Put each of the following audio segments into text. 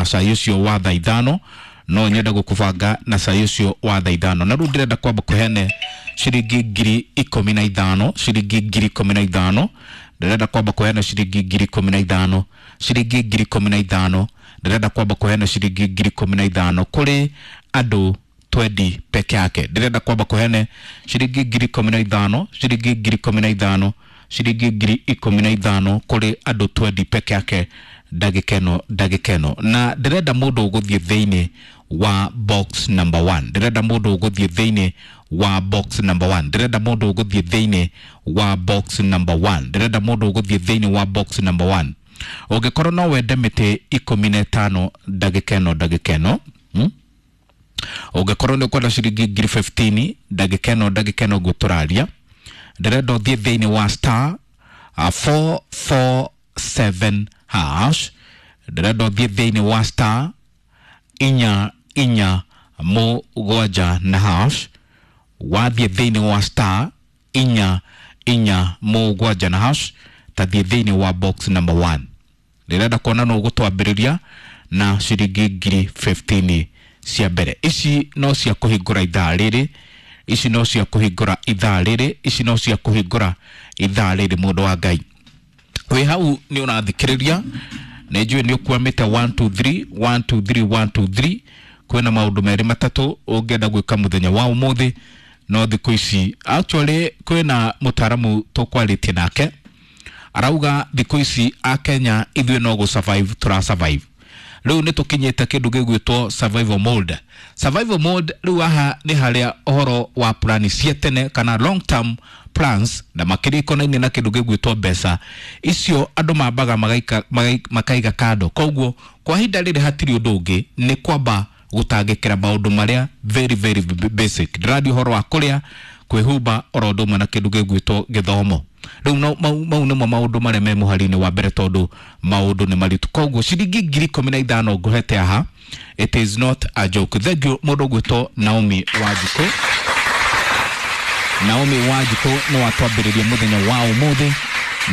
na cai ũcio wa thaa 5. No nyende gũkũbanga na cai ũcio wa thaa 5. Na rĩu ndĩrenda kwamba kũheane ciringi 15,000, ciringi 15,000. Ndĩrenda kwamba kũheana ciringi 15,000, ciringi 15,000. Ndĩrenda kwamba kũheana ciringi 15,000 kũrĩ andũ 20 peke yake. Ndĩrenda kwamba kũheana ciringi 15,000, ciringi 15,000, ciringi 15,000 kũrĩ andũ 20 peke yake ndagĩka ĩno, ndagĩka ĩno. Na ndĩrenda mũndũ ũgũthiĩ thĩinĩ wa box number 1. Ndĩrenda mũndũ ũgũthiĩ thĩinĩ wa box number 1. Ndĩrenda mũndũ ũgũthiĩ thĩinĩ wa box number 1. Ndĩrenda mũndũ ũgũthiĩ thĩinĩ wa box number 1. Ũngĩkorwo no wende mĩtĩ 15 ndagĩka ĩno, ndagĩka ĩno. Ũngĩkorwo nĩ ũkwenda ciringi 15,000 ndagĩka ĩno, ndagĩka ĩno ũguo tũraria. Ndĩrenda ũthiĩ thĩinĩ wa star 447 hash. Ndĩrenda ũthiĩ thĩinĩ wa star 4 4 7 na hash. Wathiĩ thĩinĩ wa star 4 4 7 na hash, tathiĩ thĩinĩ wa box number 1. Ndĩrenda kuona nũ ũgũtwambĩrĩria na ciringi 15,000 cia mbere. Ici no cia kũhingũra ithaa rĩrĩ, ici no cia kũhingũra ithaa rĩrĩ, ici no cia kũhingũra ithaa rĩrĩ. Mũndũ wa Ngai wĩ hau nĩ ũrathikĩrĩria, nĩ njũĩ nĩ ũkwamĩte 1 2 3 1 2 3 1 2 3. Kwĩna maũndũ merĩ matatũ ũngĩenda gwĩka mũthenya wa ũmũthĩ, no thikũ ici actually kwĩna mũtaaramu tũkwarĩtie nake arauga thikũ ici Akenya ithuĩ no gũ survive tũra survive. Rĩu nĩ tũkinyĩte kĩndũ gĩgwĩtwo survival mode. Survival mode rĩu haha nĩ harĩa ũhoro wa plani cia tene kana long term plans na makĩria ikonaine na kĩndũ gĩgwĩtwo mbeca icio andũ mambaga makaiga kando. Koguo kwa ihinda rĩrĩ hatirĩ ũndũ ũngĩ, nĩ kwamba gũtangĩkĩra maũndũ marĩa very very basic. Ndĩraria ũhoro wa kũrĩa, kwĩhumba, oro ũndũ ũmwe na kĩndũ gĩgwĩtwo gĩthomo. Rĩu no mau nĩmo maũndũ marĩa me mũhari-inĩ wa mbere, tondũ maũndũ nĩ maritũ. Koguo ciringi 15,000 ngũhete haha, it is not a joke. Thank you mũndũ ũgwĩtwo Naomi Wanjikũ. Naomi Wanjikũ nĩ watwambĩrĩria mũthenya wa ũmũthĩ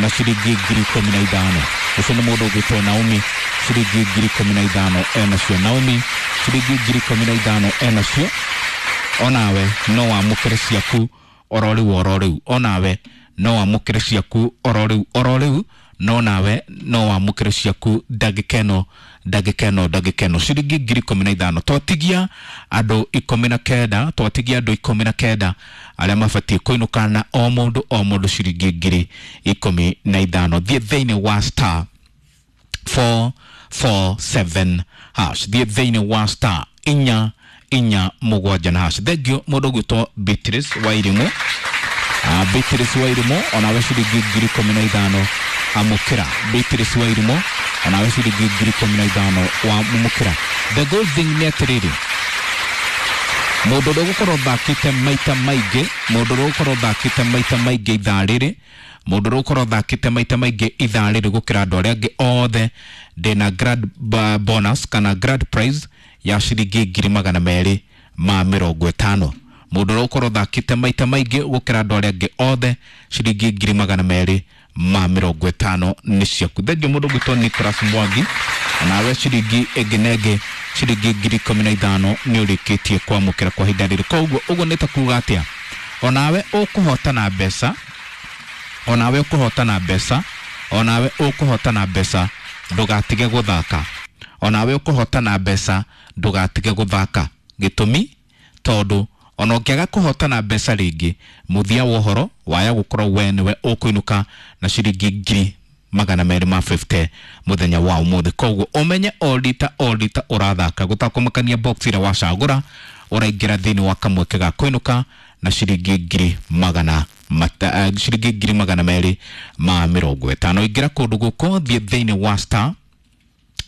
na ciringi 15,000. Ũcio nĩ mũndũ ũgwĩtwo Naomi, ciringi 15,000 enacio. Naomi ciringi 15,000 enacio. Onawe no wamũkĩre ciaku oro rĩu oro rĩu. Onawe no wamũkĩre ciaku oro rĩu oro rĩu. No nawe no wamũkĩre ciaku ndagĩka ĩno, ndagĩka ĩno, ndagĩka ĩno. Ciringi 15,000. Twatigia andũ 19, twatigia andũ 19 arĩa mabatiĩ kũinũka na o mũndũ o mũndũ ciringi 15,000. Thiĩ thĩinĩ wa star 447 hash. Thiĩ thĩinĩ wa star 4 4 7 na hash. Thank you mũndũ ũgwĩtwo Beatrice Wairimu. Beatrice Wairimu onawe ciringi 15,000 amũkĩra. Beatrice Wairimu onawe ciringi 15,000 wamũkĩra. The good thing nĩ atĩrĩrĩ, mũndũ ũrĩa ũgũkorwo ũthakĩte maita maingĩ, mũndũ ũrĩa ũgũkorwo ũthakĩte maita maingĩ ithaa rĩrĩ, mũndũ ũrĩa ũgũkorwo ũthakĩte maita maingĩ ithaa rĩrĩ gũkĩra andũ arĩa angĩ othe, ndĩna grand bonus kana grand prize ya ciringi 250,000. Mũndũ ũrĩa ũgũkorwo ũthakĩte maita maingĩ gũkĩra andũ arĩa angĩ othe, ciringi 250,000 nĩ ciaku. Thengiũ mũndũ ũgwĩtwo Nicholas Mwangi, nawe ciringi ĩngĩ na ĩngĩ ciringi 15,000 nĩ ũrĩkĩtie kwamũkĩra kwa ihinda rĩrĩ. Koguo ũguo nĩ ta kuga atĩa, onawe ũkũhotana mbeca, onawe ũkũhotana mbeca, onawe ũkũhotana mbeca, ndũgatige gũthaka. Onawe ũkũhotana mbeca, ndũgatige gũthaka. Gĩtũmi tondũ ona ũngĩaga kũhotana mbeca rĩngĩ, mũthia wa ũhoro waya gũkorwo we nĩwe ũkũinũka na ciringi 250,000 mũthenya wa ũmũthĩ. Koguo ũmenye o rita o rita ũrathaka, gũtakũmakania box ĩrĩa wacagũra, ũraingĩra thĩinĩ wa kamweke ga kũinũka na ciringi 250,000. Ingĩra kũndũ gũkũ, thiĩ thĩinĩ wa star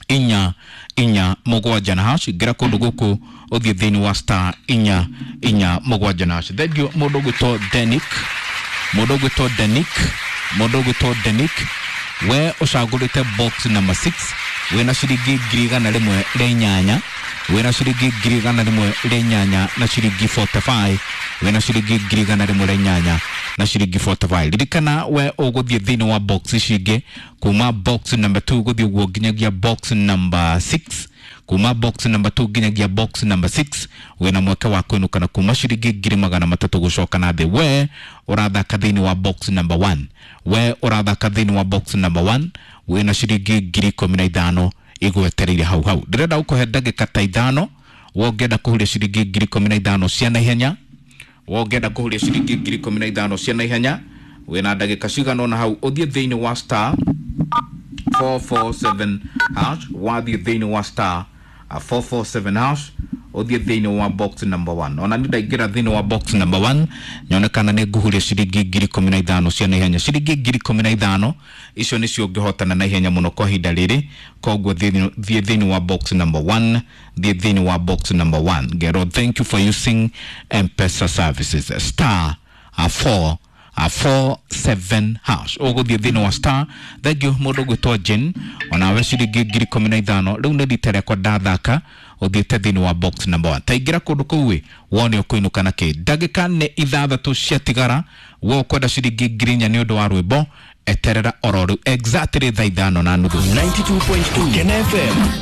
4 4 7 na hash. Ingĩra kũndũ gũkũ ũthiĩ thĩinĩ wa star 4 4 7 na hash. Thank you mũndũ ũgwĩtwo Denik, mũndũ ũgwĩtwo Denik, mũndũ ũgwĩtwo Denik, we ũcagũrĩte box number 6, wĩna ciringi 108,000, wĩna ciringi 108,000 na ciringi 45, wĩna ciringi 108,000 na ciringi 45. Ririkana we ũgũthiĩ thĩinĩ wa box ici ingĩ kuma box number 2 gũthiĩ ũguo nginyagia box number 6. Kuma box number 2 nginyagia box number 6 wĩna mweke wa kũinũka na kuma ciringi 300,000 gũcoka na thĩ. We ũrathaka thĩinĩ wa box number 1, we ũrathaka thĩinĩ wa box number 1 wĩna ciringi 15,000 igwetereire hau hau. Ndĩrenda gũkũhe ndagĩka ta 5 we ũngĩenda kũhuria ciringi 15,000 cia naihenya, we ũngĩenda kũhuria ciringi 15,000 cia naihenya wĩna ndagĩka cigana ũna hau ũthiĩ thĩinĩ wa star 447 hash. Wathiĩ thĩinĩ wa star 447 hash, ũthiĩ thĩinĩ wa box number 1. Ona nĩ ndaingĩra thĩinĩ wa box number 1 nyone kana nĩ ngũhuria ciringi 15,000 cia naihenya. Ciringi 15,000 icio nĩcio ũngĩhotana naihenya mũno kwa ihinda rĩrĩ. Koguo thiĩ thĩinĩ wa box number 1, thiĩ thĩinĩ wa box number 1. Ngero thank you for using M-Pesa services. Star 4 47 hash, ũgũthiĩ thĩinĩ wa star. Thank you mũndũ ũgwĩtwo Jane, onawe ciringi 15,000. Rĩu nĩ rita rĩakwa ndathaka ũthiĩte thĩinĩ wa box number 1. Taingĩra kũndũ kũu ĩ wone ũkũinũka na kĩ. Ndagĩka nĩ 6 ciatigara. We ũkwenda ciringi 4,000 nĩ ũndũ wa rwĩmbo, eterera oro rĩu exactly thaa 5:30. 92.2 Kena FM.